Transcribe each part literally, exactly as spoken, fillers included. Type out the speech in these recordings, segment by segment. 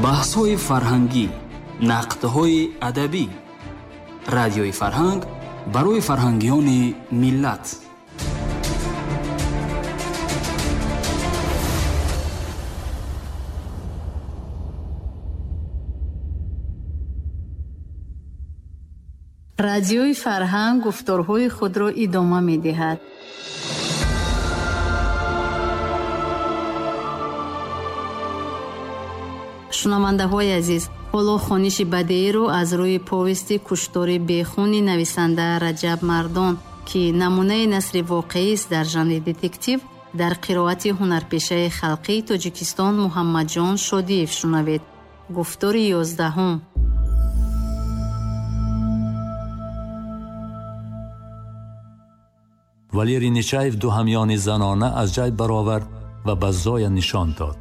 Баҳсҳои фарҳангӣ, нақдҳои адабӣ. Радиои Фарҳанг барои фарҳангиёни миллат. Радиои Фарҳанг гуфторҳои худро идома медиҳад. Шунавандаҳои азиз, ҳоло хониши бадеиро аз рӯи повести куштори бехуни нависанда Раҷаб Мардон, ки намунаи насри воқеист дар жанри детектив, дар қироати ҳунарпешаи халқии Тоҷикистон Муҳаммадҷон Шодиев шунавед. Гуфтори ёздаҳум. Валерий Нечаев ду ҳамёни занона аз ҷайб баровард ва ба Зоя нишон дод.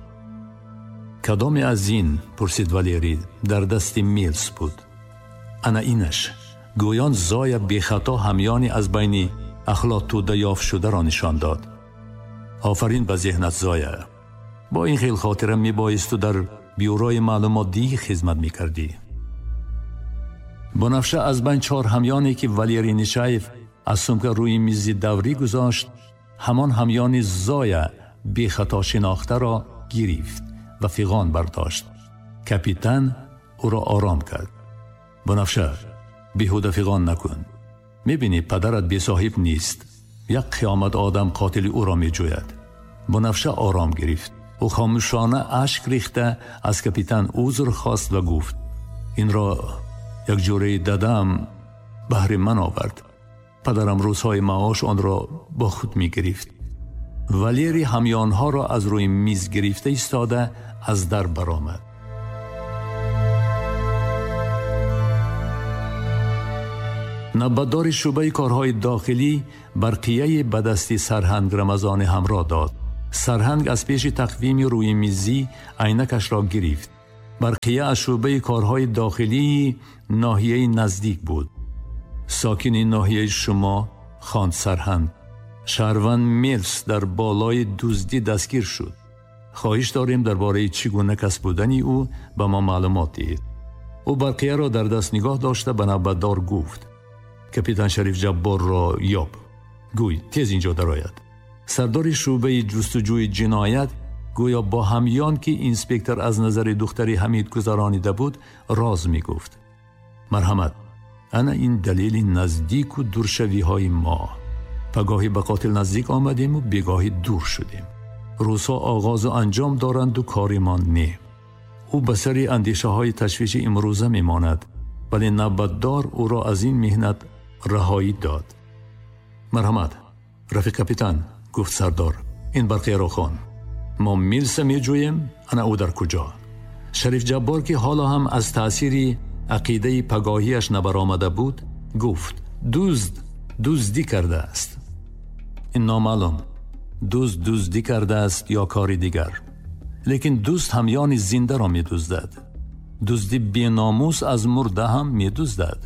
Кадоме аз ин, пурсид Валерий, дар дасти Милс буд. Ана инаш. Гӯён Зоя бехато ҳамёни аз байни ахлоттӯда ёфт шударо нишон дод. Офарин ба зеҳнат, Зоя. Бо ин хел хотира мебоисту дар бюрои маълумотдиҳӣ хизмат мекардӣ. Бунафша аз байн чор ҳамёне ки Валерий Нечаев аз сумка рӯи мизи даврӣ гузошт, ҳамон ҳамёни Зоя бехато шинохтаро гирифт ва фиғон бардошт. Капитан ӯро ором кард. Бунафша, беҳуда фиғон накун. Мебинӣ падарат бесоҳиб нест. Як қиёмат одам қотили ӯро меҷӯяд. Бунафша ором гирифт. Ӯ хомӯшона ашк рехта аз капитан узр хост ва гуфт: инро як ҷураи дадам баҳри ман овард. Падарам рӯзҳои маош онро бо худ мегирифт. Валерий ҳамёнҳоро аз рӯи миз гирифта истода аз дар баромад. Навбатдори шӯъбаи корҳои дохилӣ барқияи ба дасти сарҳанг Рамазони ҳамроҳ дод. Сарҳанг аз пеши тақвими рӯи мизӣ айнакашро гирифт. Барқия аз шӯъбаи корҳои дохилии ноҳияи наздик буд. Сокини ноҳияи шумо, хонд сарҳанг, шаҳрванд Милс дар болои дуздӣ дастгир шуд. Хоҳиш дорем дар бораи чӣ гуна кас будани ӯ ба мо маълумот диҳед. Ӯ барқияро дар даст нигоҳ дошта ба навбатдор гуфт: капитан Шариф Ҷабборро ёб. Гӯй, тез инҷо дарояд. Сардори шӯъбаи ҷустуҷӯи ҷиноят гӯё бо ҳамён ки инспектор аз назари духтари Ҳамид гузаронида буд, роз мегуфт. Марҳамат, ана ин далели наздику дуршавиҳои мо. Пагоҳӣ ба қотил наздик омадему бегоҳӣ дур шудем. Рӯзҳо оғозу анҷом доранду коримон не. Ӯ ба сари андешаҳои ташвиши имрӯза мемонад, вале навбатдор ӯро аз ин меҳнат раҳоӣ дод. Марҳамат, рафиқ капитан, гуфт сардор, ин барқияро хон. Мо Милса меҷӯем, ана ӯ дар куҷо? Шариф Ҷаббор ки ҳоло ҳам аз таъсири ақидаи пагоҳиаш набаромада буд, гуфт: дузд дуздӣ кардааст. Ин номаълум, дузд дуздӣ кардааст ё кори дигар. Лекин дузд ҳамёни зиндаро медуздад. Дузди беномус аз мурда ҳам медуздад.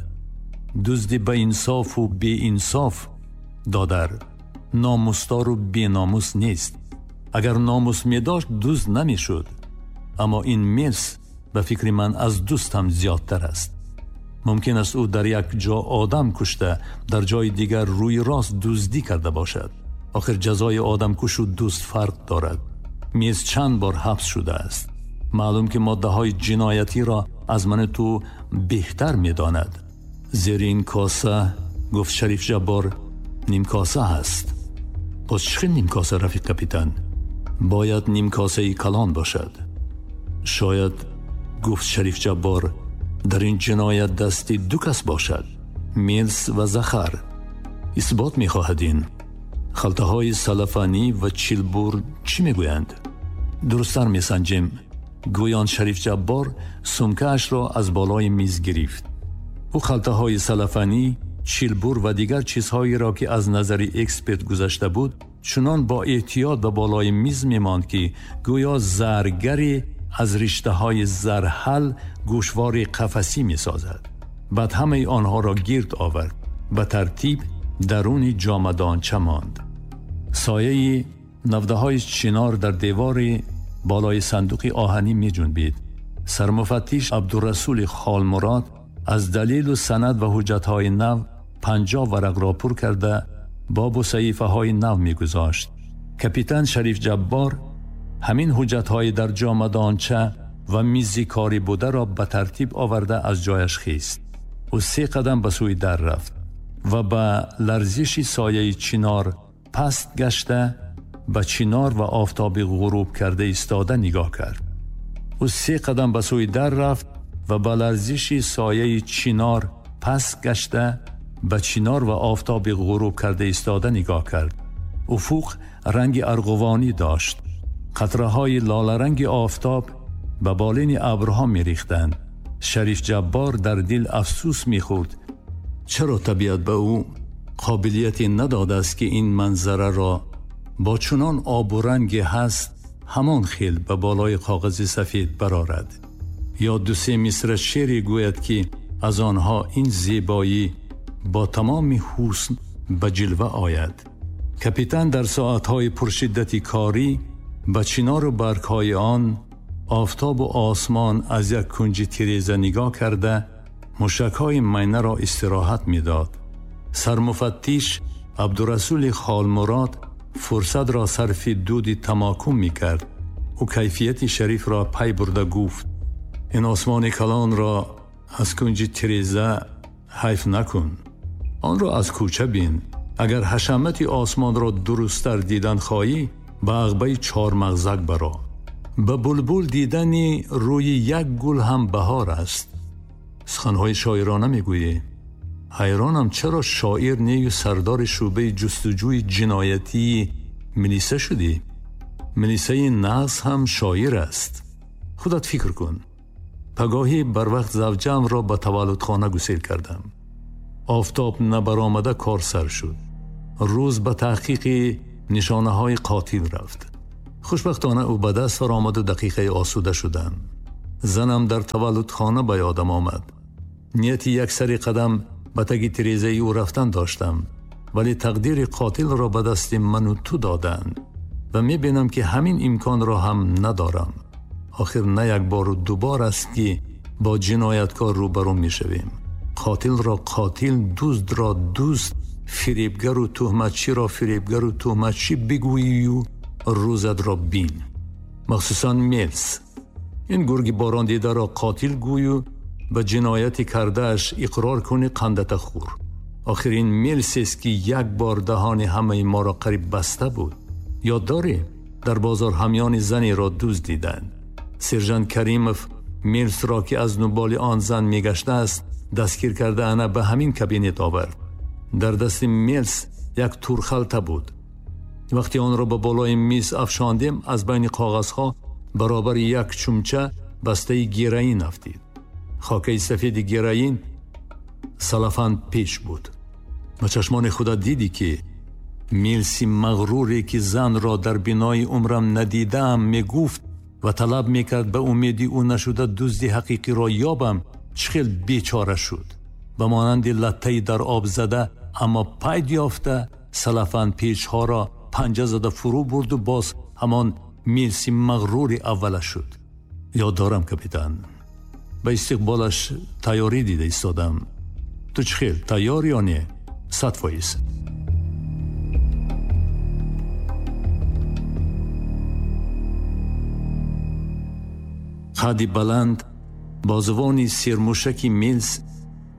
Дузди ба инсофу беинсоф, додар, номусдору беномус нест. Агар номус медошт, дузд намешуд. Аммо ин Милс ба фикри ман аз дузд ҳам зиёдтар аст. Мумкин аст ӯ дар як ҷо одам кушта, дар ҷои дигар рӯи рост дуздӣ карда бошад. Охир ҷазои одамкушу дузд фарқ дорад. Милс чанд бор ҳабс шудааст. Маълум ки моддаҳои ҷиноятиро аз мани ту беҳтар медонад. Зери ин коса, гуфт Шариф Ҷаббор, нимкоса ҳаст. Боз чӣ хел нимкоса, рафиқ капитан? Бояд нимкосаи калон бошад. Шояд, гуфт Шариф Ҷаббор, дар ин ҷиноят дасти ду кас бошад, Милс ва Захар. Исбот мехоҳад ин. Халтаҳои салафанӣ ва чилбур чӣ мегӯянд? Дурусттар месанҷем. Гӯён Шариф Ҷаббор сумкаашро аз болои миз гирифт. Ӯ халтаҳои салафанӣ, чилбур ва дигар чизҳоеро ки аз назари эксперт гузашта буд, чунон бо эҳтиёт ба болои миз мемонд ки гӯё заргаре аз риштаҳои зарҳал гӯшвори қафасӣ месозад. Баъд ҳамаи онҳоро гирд овард. Ба тартиб даруни ҷомадонча монд. Сояи навдаҳои чинор дар девори болои сандуқи оҳанӣ меҷунбид. Сармуфаттиш Абдурасул Холмурод аз далил ва санад ва ҳуҷҷатҳои нав панҷоҳ варақ ро пур карда боб ва саҳифаҳои нав мегузошт. Капитан Шариф Ҷаббор ҳамин ҳуҷҷатҳои дар ҷомадонча ва мизи корӣ буда ро ба тартиб оварда аз ҷояш хест. Ӯ се қадам ба сӯи дар рафт ва ба ларзиши сояи чинор паст гашта ба чинор ва офтоби ғуруб карда истода нигоҳ кард. Ӯ се қадам ба сӯи дар рафт ва ба ларзиши сояи чинор паст гашта ба чинор ва офтоби ғуруб карда истода нигоҳ кард. Уфуқ ранги арғувонӣ дошт. Қатраҳои лоларанги офтоб ба болини абрҳо мерехтанд. Шариф Ҷаббор дар дил афсӯс мехӯрд, чаро табиат ба ӯ қобилияте надодааст, ки ин манзараро бо чунон обу ранге ҳаст ҳамон хел ба болои коғази сафед барорад, ё ду се мисра шеъре гӯяд, ки аз онҳо ин зебоӣ бо тамоми ҳусн ба ҷилва ояд. Капитан дар соатҳои пуршиддати корӣ ба чинору баргҳои он, офтобу осмон аз як кунҷи тиреза нигоҳ карда мушакҳои майнаро истироҳат медод. Сармуфаттиш Абдурасули Холмурод фурсатро сарфи дуди тамокум мекард. Ӯ кайфияти Шарифро пай бурда гуфт: ин осмони калонро аз кунҷи тиреза ҳайф накун, онро аз кӯча бин. Агар ҳашамати осмонро дурусттар дидан хоҳӣ, ба ағбаи чормағзак баро. Ба булбул дидани рӯи як гул ҳам баҳор аст. Суханҳои шоирона мегӯӣ. Ҳайронам, чаро шоир нею сардори шӯъбаи ҷустуҷӯи ҷиноятии милиса шудӣ? Милисаи нағз ҳам шоир аст. Худат фикр кун. Пагоҳӣ барвақт завҷаамро ба таваллудхона гусел кардам. Офтоб набаромада кор сар шуд. Рӯз ба таҳқиқи нишонаҳои қотил рафт. Хушбахтона ӯ ба даст фаромаду дақиқаи осуда шудам. Занам дар таваллудхона ба ёдам омад. Нияти як сари қадам ба таги тирезаи ӯ рафтан доштам, вале тақдири қотилро ба дасти ману ту доданд ва мебинам, ки ҳамин имконро ҳам надорам. Охир на як бору дубор аст, ки бо ҷинояткор рӯбарӯ мешавем. Қотилро қотил, дуздро дузд, фиребгару туҳматчиро фиребгару туҳматчӣ бигӯию рӯзатро бин. Махсусан Мелс. Ин гурги борондидаро қотил гӯю ба ҷинояти кардааш иқрор кунӣ, қандата хӯр. Охир ин Мелсест, ки як бор даҳони ҳамаи моро қариб баста буд. Ёд дорӣ, дар бозор ҳамёни занеро дузд диданд. Сержант Каримов Мелсро, ки аз нуболи он зан мегаштааст, дастгир карда ана ба ҳамин кабинет овард. Дар дасти Мелс як турхалта буд. Вақте онро ба болои миз афшондем, аз байни коғазҳо баробари як чумча бастаи героин афтид. Хокаи сафеди героин салафан пеш буд. Ба чашмони худат дидӣ, ки Мелси мағруре, ки занро дар бинои умрам надидаам, мегуфт ва талаб мекард ба умеди ӯ нашуда дузди ҳақиқиро ёбам, чӣ хел бечора шуд. Ба монанди латтаи дар об зада, аммо пайд ёфта, салафан печҳоро панҷа зада фурӯ бурду боз ҳамон Мелси мағрури аввала шуд. Ёд дорам, капитан. Ба истиқболаш тайёрӣ дида истодам. Ту чӣ хел, тайёр ё не? Сад фоиз. Қадди баланд, бозувони сермушаки Мелс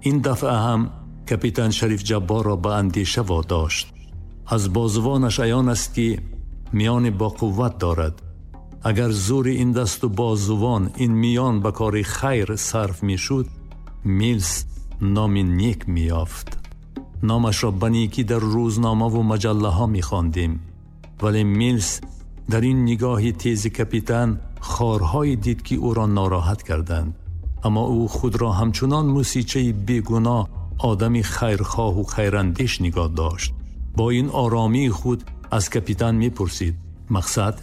ин дафъа ҳам капитан Шариф Ҷабборро ба андеша водошт. Аз бозувонаш аён аст, ки миёни бо қувват дорад. Агар зӯри ин дасту бозувон, ин миён ба кори хайр сарф мешуд, Мелс номи нек меёфт. Номашро ба некӣ дар рӯзномаву маҷаллаҳо мехондем. Вале Мелс дар ин нигоҳи тези капитан хорҳое дид, ки ӯро нороҳат карданд. Аммо ӯ худро ҳамчунон мусичаи бегуноҳ, одами хайрхоҳу хайрандеш нигоҳ дошт. Бо ин оромии худ аз капитан мепурсид: мақсад?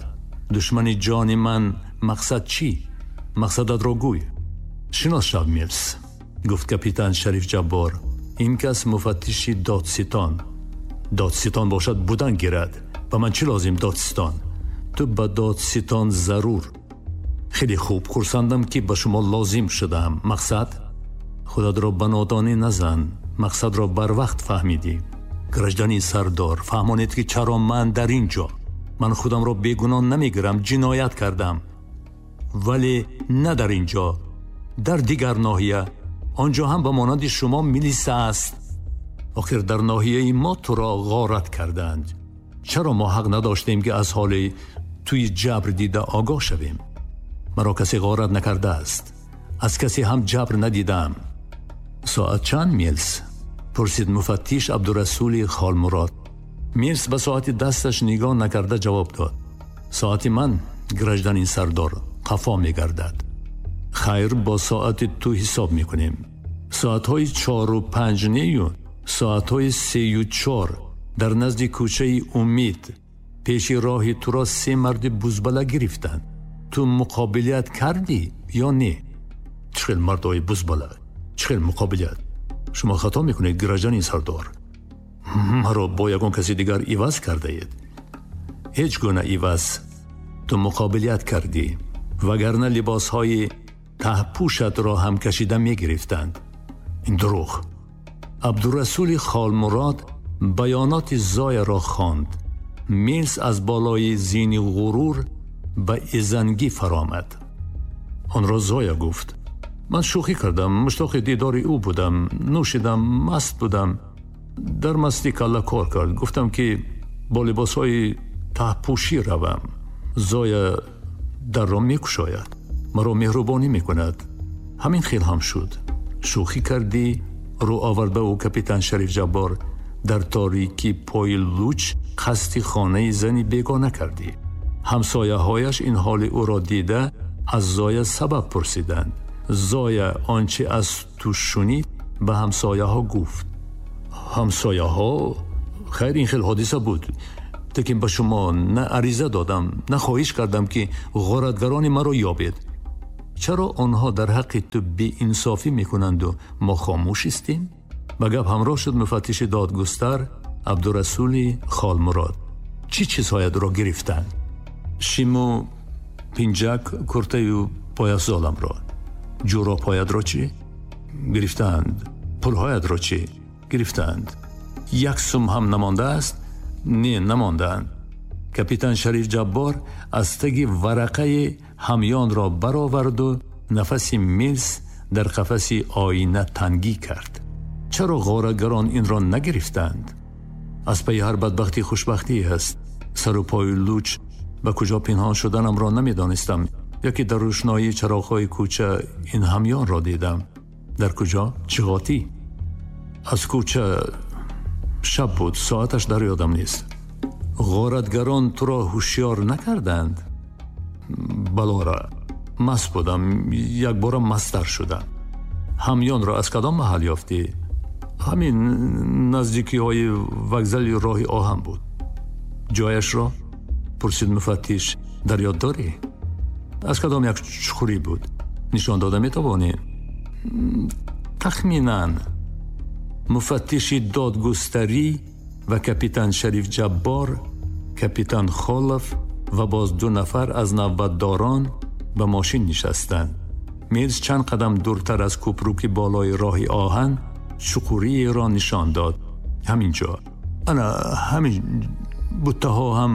Душмани ҷони ман, мақсад чӣ? Мақсадатро гӯй. Шинос шав, Мелс, гуфт капитан Шариф Ҷаббор. Ин кас муфаттиши додситон. Додситон бошад, будан гирад. Ба ман чӣ лозим додситон? Ту ба додситон зарур. Хеле хуб, хурсандам ки ба шумо лозим шудам. Мақсад? Худатро ба нодонӣ назан. Мақсадро барвақт фаҳмидӣ. Гражданин сардор, фаҳмонед ки чаро ман дар ин ҷо. Ман худамро бегуноҳ намегирам, ҷиноят кардам. Вале на дар ин ҷо, дар дигар ноҳия. Он ҷо ҳам ба монанди шумо милиса аст. Охир дар ноҳияи мо туро ғорат карданд. Чаро мо ҳақ надоштем ки аз ҳоли туи ҷабр дида огоҳ шавем? Маро касе ғорат накардааст. Аз касе ҳам ҷабр надидам. Соат чанд, Милс? Пурсид муфаттиш Абдурасули Холмурод. Милс ба соати дасташ нигоҳ накарда ҷавоб дод. Соати ман, гражданин сардор, қафо мегардад. Хайр, бо соати ту ҳисоб мекунем. Соатҳои чору панҷ нею соатҳои сею чор дар назди кӯчаи Умид пеши роҳи туро се марди бузбала гирифтанд. Ту муқобилият кардӣ ё не? Чӣ хел мардҳои бузбала? Чӣ хел муқобилият? Шумо хато мекунед, гражданин сардор. Маро бо ягон каси дигар иваз кардаед. Ҳеҷ гуна иваз. Ту муқобилият кардӣ, вагарна либосҳои таҳпӯшатро ҳам кашида мегирифтанд. Ин дурӯғ. Абдурасули Холмурод баёноти Зояро хонд. Милс аз болои зини ғурур ба изангӣ фаромад. Онро Зоя гуфт. Ман шӯхӣ кардам, муштоқи дидори ӯ будам, нӯшидам, маст будам. Дар мастӣ калла кор кард. Гуфтам ки бо либосҳои таҳпӯшӣ равам. Зоя дарро мекушояд, маро меҳрубонӣ мекунад. Ҳамин хел ҳам шуд. Шӯхӣ кардӣ, рӯ овард ба ӯ капитан Шариф Ҷаббор. Дар торикӣ пои луч қасди хонаи зани бегона кардӣ. Ҳамсояҳояш ин ҳоли ӯро дида аз Зоя сабаб пурсиданд. Зоя он чи аз ту шунид ба ҳамсояҳо гуфт. Ҳамсояҳо? Хайр, ин хел ҳодиса буд. Лекин ба шумо на ариза додам, на хоҳиш кардам ки ғоратгарони маро ёбед. Чаро онҳо дар ҳаққи ту беинсофӣ мекунанду мо хомӯш истем? Ба гап ҳамроҳ шуд муфаттиши додгустар Абдурасули Холмурод. Чӣ чизҳоятро гирифтанд? Шиму пинҷак, куртаю пойафзоламро. Ҷӯробҳоятро чӣ? Гирифтаанд. Пулҳоятро чӣ? Гирифтаанд. Як сум ҳам намондааст? Не, намондаанд. Капитан Шариф Ҷаббор аз таги варақаи ҳамёнро бароварду нафаси Милс дар қафаси оина тангӣ кард. Чаро ғоратгарон инро нагирифтанд? Аз пайи ҳар бадбахтӣ хушбахтӣ аст. Сару пои луч ба куҷо пинҳон шуданамро намедонистам. Яке дар рӯшноии чароғҳои кӯча ин ҳамёнро дидам. Дар куҷо? Чиғотӣ. Аз кӯча шаб буд, соаташ дар ёдам нест. Ғоратгарон туро ҳушёр накарданд? Балора, маст будам, якбора масттар шудам. Ҳамёнро аз кадом маҳал ёфтӣ? Ҳамин наздикиҳои вокзали роҳи оҳан буд. Ҷояшро? Пурсид муфаттиш. Дар ёд дорӣ? Аз кадом як чуқурӣ буд? Нишон дода метавонӣ? Тахминан. Муфаттиши додгустарӣ ва капитан Шариф Ҷаббор, капитан Холов ва боз ду нафар аз навбатдорон ба мошин нишастанд. Милс чанд қадам дуртар аз кӯпруки болои роҳи оҳан чуқуриеро нишон дод. Ҳамин ҷо. Ана ҳамин буттаҳо ҳам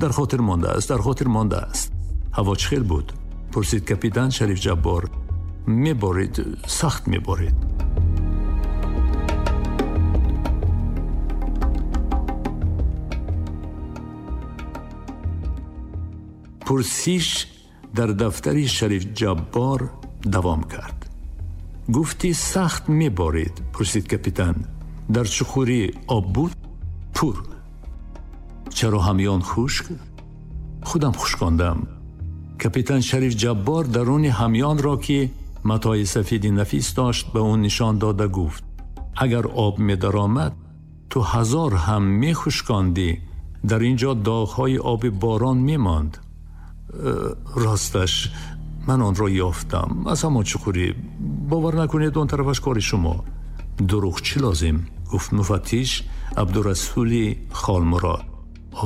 дар хотир мондааст, дар хотир мондааст. Ҳаво чӣ хел буд? Пурсид капитан Шариф Ҷаббор. Меборид, сахт меборид. Пурсиш дар дафтари Шариф Ҷаббор давом кард. Гуфтӣ сахт меборид, пурсид капитан. Дар чуқурӣ об буд? Пур. Чаро ҳамён хушк? Худам хушкондам. Капитан Шариф Ҷаббор даруни ҳамёнро ки матои сафеди нафис дошт ба он нишон дода гуфт: агар об медаромад, ту ҳазор ҳам мехушкондӣ, дар ин ҷо доғҳои оби борон мемонд. Росташ ман онро ёфтам аз ҳамон чуқурӣ. Бовар накунед, он тарафаш кори шумо. Дурӯғ чӣ лозим? Гуфт муфаттиш Абдурасули Холмурод.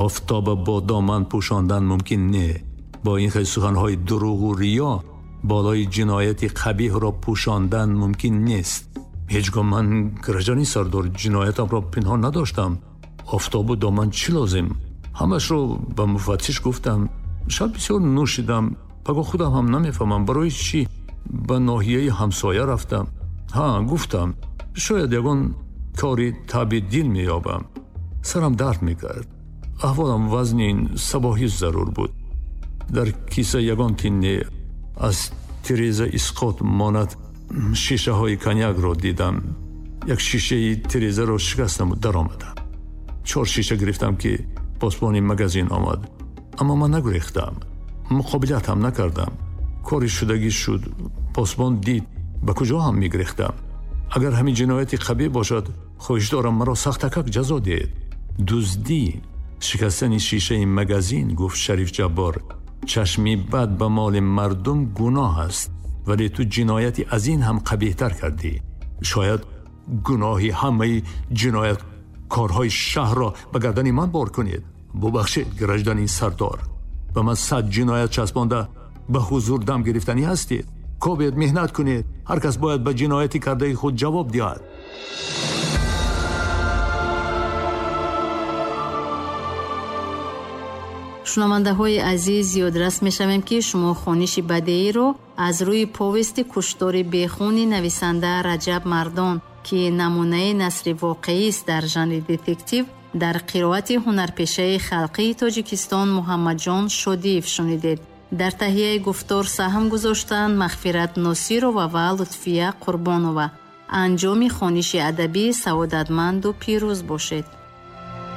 Офтоба бо доман пӯшондан мумкин не. Бо ин хел суханҳои дурӯғу риё болои ҷинояти қабиҳро пӯшондан мумкин нест. Ҳеҷ гоҳ ман, гражданин сардор, ҷиноятамро пинҳон надоштам. Офтобу доман чӣ лозим? Ҳамашро ба муфаттиш гуфтам. Шаб бисёр нӯшидам. Пагоҳ худам ҳам намефаҳмам барои чӣ ба ноҳияи ҳамсоя рафтам. Ҳа, гуфтам, шояд ягон кори таби дил меёбам. Сарам дард мекард. Аҳволам вазнин, сабоҳӣ зарур буд. Дар киса ягон тинне аз тиреза исқот монад шишаҳои коньякро дидам. Як шишаи тирезаро шикастаму даромадам. Чор шиша гирифтам, ки посбони магазин омад. Аммо ман нагурехтам, муқобилат ҳам накардам. Кори шудагӣ шуд. Посбон дид, ба куҷо ҳам мегирехтам. Агар ҳамин ҷинояти қабиҳ бошад, хоҳиш дорам маро сахтакак ҷазо диҳед. Дуздӣ, шикастани шишаи магазин, гуфт Шариф Ҷаббор, чашми бад ба моли мардум гуноҳ аст, вале ту ҷинояти аз ин ҳам қабиҳтар кардӣ. Шояд гуноҳи ҳамаи ҷинояткорҳои шаҳрро ба гардани ман бор кунед. Бубахшед, гражданин сардор, ба ман сад ҷиноят часпонда ба ҳузур дам гирифтанӣ ҳастед. Кобед, меҳнат кунед. Ҳар кас бояд ба ҷинояти кардаи худ ҷавоб диҳад. Шунавандаҳои азиз, ёдрас мешавем, ки шумо хониши бадеиро аз рӯи повести «Куштори бехуни» нависанда Раҷаб Мардон, ки намунаи насри воқеист дар жанри детектив, дар қироати ҳунарпешаи халқии Тоҷикистон Муҳаммадҷон Шодиев шунидед. Дар таҳияи гуфтор саҳм гузоштанд Мағфират Носирова ва Лутфия Қурбонова. Анҷоми хониши адабӣ саодатманду пирӯз бошед.